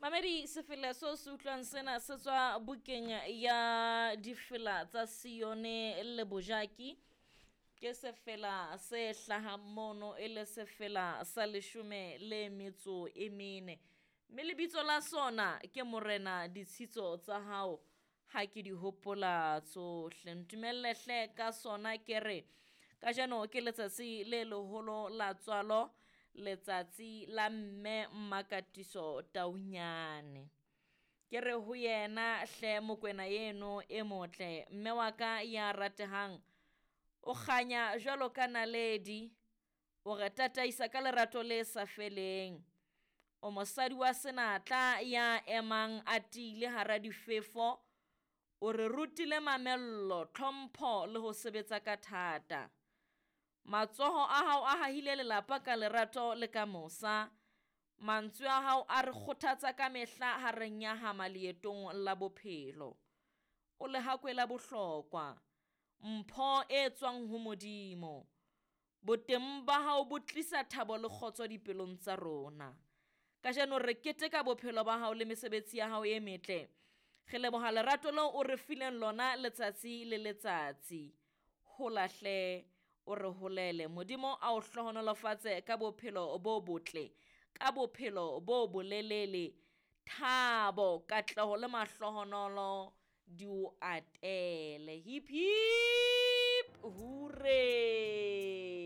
Mamedi sefela seo se utlwang sena se tswa bukeng ya difela tsa Sione le Bojaki. Ke sefela se hlahang mono e le sefela sa leshome le metso e mene. Mme lebitso la sona ke Morena ditshitso tsa hao ha ke di hopola tsohle. Ntumelle hle ka sona ke re kajeno ke letsatsi le leholo la tswalo letsatsi la mme Mmakatiso Taunyane. Ke re ho yena hle Mokwena eno e motle mme wa ka ya ratehang o kganya jwalo ka naledi o re tataisa ka lerato le sa feleng. O mosadi wa senatla ya emang a tiile hara difefo, o re rutile mamello, tlhompho le ho sebetsa ka thata. Matsoho a hao a hahile lelapa ka lerato le ka mosa. Mantswe a hao a re kgothatsa ka mehla ha re nyahama leetong la bophelo. O lehakwe la bohlokwa, mpho e tswang ho Modimo. Boteng ba hao bo tlisa thabo le kgotso dipelong tsa rona. Kajeno re keteka bophelo ba hao le mesebetsi ya hao e metle. Re leboha lerato leo o re fileng lona letsatsi le letsatsi. Hola hle o re holele. Modimo a o hlohonolofatse ka bophelo bo botle, ka bophelo bo bolelele, thabo, katleho le mahlohonolo di o atele. Hip hip hooray!